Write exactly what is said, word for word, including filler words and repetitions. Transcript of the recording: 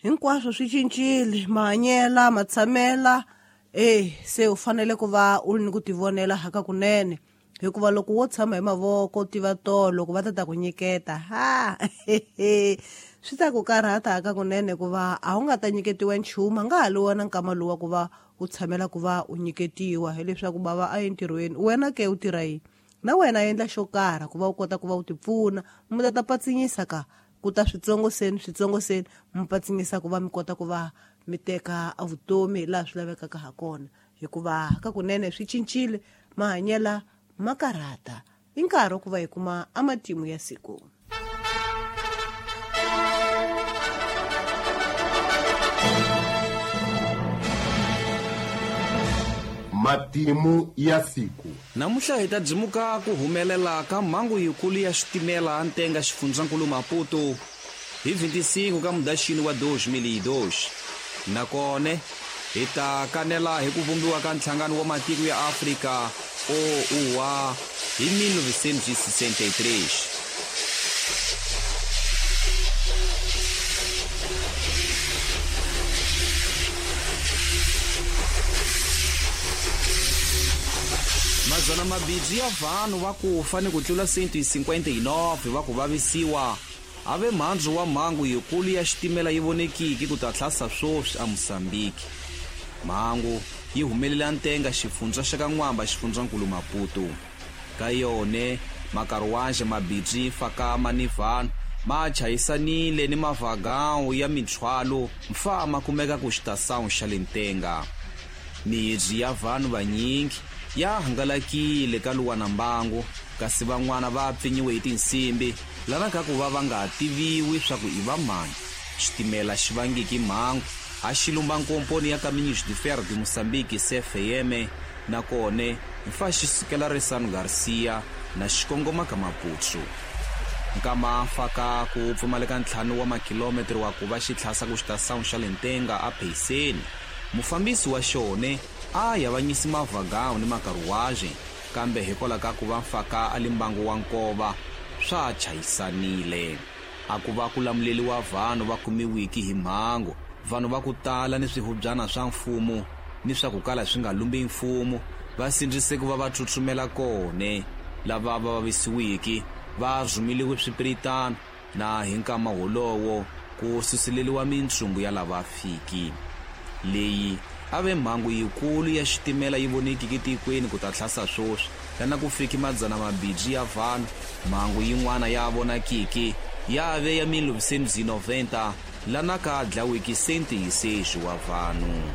Hinkwaswo swi cincile, mahanyela, matshamela, eh se u fanele ku va u ri ni ku tivonela haka kunene. Hikuva loko wo tshama hi mavoko tiva tolo loko va ta ta ku nyiketa, ha swi ta ku karhata haka kunene hikuva a wu nga ta nyiketiwa nchumu, a nga ha li wona nkama lowu wa ku va u tshamela ku va u nyiketiwa, hileswaku bava a entirhweni, wena ke u tirha yini? Na wena endla xo karhi ku va u kota ku va u tipfuna, mi ta ta patsinyisa ka ku ta switsongo seni switsongo seni mi patsinyisa ku va mi kota ku va mi teka vutomi laha swi lavekaka ha kona. Hikuva ka kunene swi cincile, mahanyela ma karhata. I nkarhi ku va hi kuma a matimu ya siku. Matimu ya siku. Namuntlha hi ta dzimuka ku humelela ka mhangu yikulu ya xitimela ntenga xifundzankulu Maputo hi vinte e cinco ka Mudyaxini wa dois mil e dois. Nakona hi ta kanela hi ku vumbiwa ka nhlangano wa matiko ya Afrika O U A hi mil novecentos e sessenta e três. Madzana mabidzi ya vanhu va ku fa ni ku tlula cento e cinquenta e nove va ku vavisiwa ave mhandzu wa mhangu yikulu ya xitimela yi vonekiki ku ta tlhasa swoswi a Mozambique. Mhangu yi humelela ntenga xifundza xa ka N'wamba xifundzankulu Maputo. Ka yone makaruwaxe mabidzi fakama ni vanhu ma chayisanile ni mavhagawu ya minthwalo mfa ma kumeka ku xitasawu xa le ntenga. Mihidzi ya vanhu vanyingi ya hangalakile ka luwana mbangu, kasi van'wana va pfinyiwe hi tinsimbi lana ka ku va va nga tiviwi swa ku i va mani. Xitimela xi vangiki mhangu a xi lumba nkomponi ya Caminhos de Ferro de Moçambique C F M, nakona mfa xi sukela Ressano Garcia na xikongoma ka Maputo. Nkama faka ku pfumaleka ntlhanu wa makilometro wa ku va xi tlhasa ku xitasawu xa le ntenga a Payiseni, mufambisi wa xone a yavanyisi mavhagawu ni makaruwaxe, kambe hikwalaho ka ku va mfaka a li mbangu wa nkova swa chayisanile. A ku va ku lamuleliwa vanhu va kumiwiki hi mhangu, vanhu va ku tala ni swihubyana swa mfumo ni swa ku kala swi nga lumbi mfumo va sindzise ku va va tsutsumela kone. Lava va vavisiwiki va rhumeliwe swipiritano, na hi nkama wolowo ku suseleliwa mintsumbu ya lava fiki. Leyi a ve mhangu yikulu ya xitimela yi vonekiki tikweni ku ta tlhasa swoswi lana ku fiki madzana mabidzi ya vanhu. Mhangu yin'wana ya vonakiki ya ve ya mil novecentos e noventa lana ka dlawiki cento e seis wa vanhu.